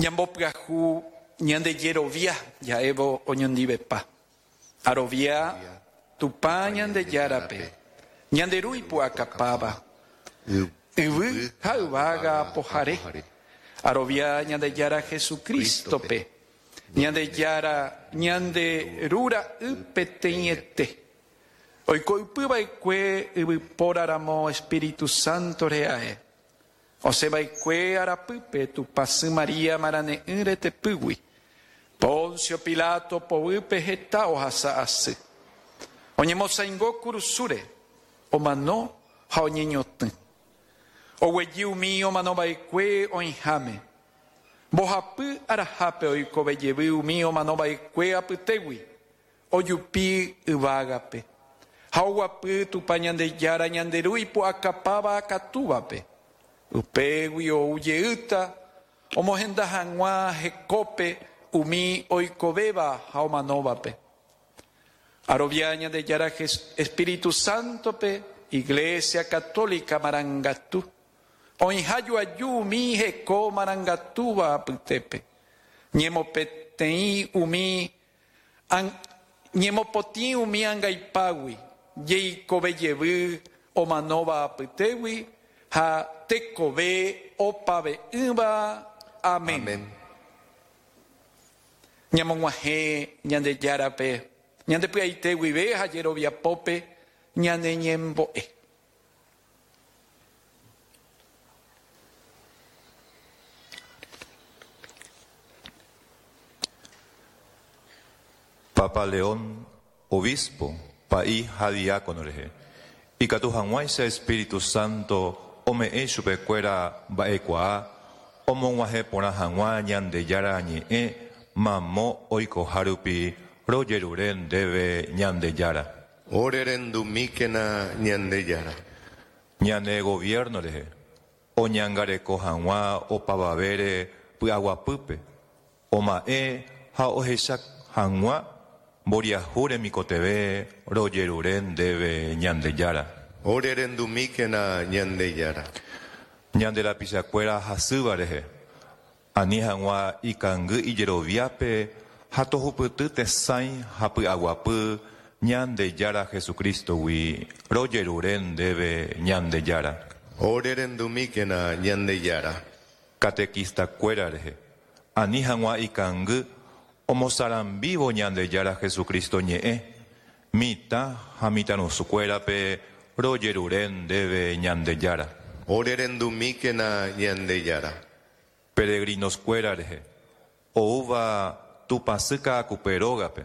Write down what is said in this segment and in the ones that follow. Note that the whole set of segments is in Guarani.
Ñambopyahu ñande jerovia ja'évo oñondivepa. Arovia Tupã Ñandejárape, ñande Ru ipu'akapáva, yvy ha yvága apohare. Arovia Ñandejára Jesucristo-pe, Ñandejára ñande Ru ra'y peteĩete, oiko ypy va'ekue yvypóra ramo Espíritu Santo re'ae. Osẽ va'ekue arapýpe Tupãsy María marane'ỹ retepýgui. Poncio Pilato poguýpe heta ohasa asy. Oñemosaingo kurusúre, omano ha oñeñotỹ. Oguejy umi omano va'ekue oĩháme. Mbohapy arahápe oikove jevy umi omano va'ekue apytégui, ojupi yvágape, ha oguapy Tupã Ñandejára ñande Ru ipu'akapáva akatúvape. Upégui ou jeýta omohenda hag̃ua hekópe umi oikovéva ha omanóvape. Arovia Ñandejára Espíritu Sántope, Iglesia Católica marangatu, oĩha joaju umi heko marangatúva apytépe, ñemopeteĩ umi Ñemopotĩ umi angaipágui, jeikove jevy omanóva apytégui ha tekove opave'ỹva. Amén. Ñamog̃uahẽ Ñandejárape ñande py'aite guive ha jeroviapópe ñane ñembo'e. Papa León, obispo, pa'i ha diácono rehe, ikatu hag̃uáicha Espíritu Santo ome'ẽ chupekuéra mba'ekuaa omog̃uahẽ porã hag̃ua Ñandejára Ñe'ẽ mamo oikoha rupi rojerure ndéve Ñandejára. Ore rendumíkena Ñandejára. Ñane gobierno rehe, oñangareko hag̃ua opavavére py'aguapýpe, oma'ẽ ha ohecha hag̃ua mboriahu remikotevẽ rojerure ndéve Ñandejára. Ore rendumíkena Ñandejára. Ñande rapichakuéra hasýva rehe, Ani hag̃ua ikangy ijeroviápe ha tohupyty tesãi ha py'aguapy Ñandejára Jesucristo-gui, rojerure ndéve Ñandejára. Ore rendumíkena Ñandejára. Catequista-kuéra rehe, ani hag̃ua ikangy omosarambívo Ñandejára Jesucristo ñe'ẽ, mitã ha mitãrusukuérape rojerure ndéve Ñandejára. Ore rendumíkena Ñandejára. Peregrinos-kuéra rehe, oúva Tupãsy Ka'akupe rógape,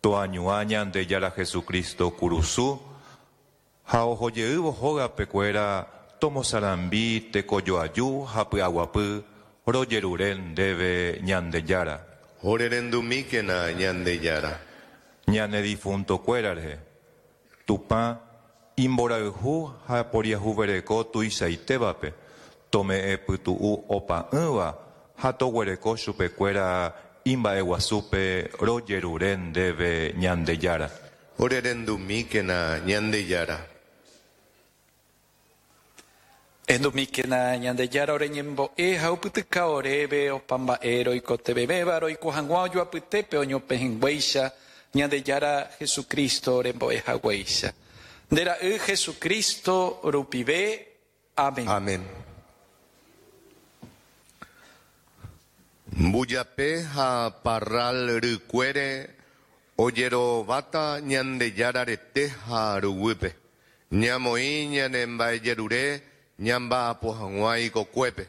toañuã Ñandejára Jesucristo kurusu ha ohojeývo hógape kuéra tomosarambi tekojoaju ha py'aguapy rojerure ndéve Ñandejára. Ore rendumíkena Ñandejára. Ñane difunto-kuéra rehe, Tupã imborayhu ha poriahuvereko tuichaitévape, tome'ẽ pytu'u opa'ỹva ha toguereko chupekuéra imba'eguasúpe rojerure ndéve Ñandejára. Orerendumíkena Ñandejára. Ehendumíkena Ñandejára ore ñembo'e ha opytyka oréve opa mba'e roikotevẽvéva roiko hag̃ua ojoapytépe oñopehẽnguéicha Ñandejára Jesucristo orembo'e haguéicha. Nde Ra'y Jesucristo rupive. Amén. Amén. Mbujape ha parral rykuére ojerováta Ñandejára rete ha ruguýpe. Ñamoĩ ñane mba'ejerure ñamba'apo hag̃ua ikokuépe.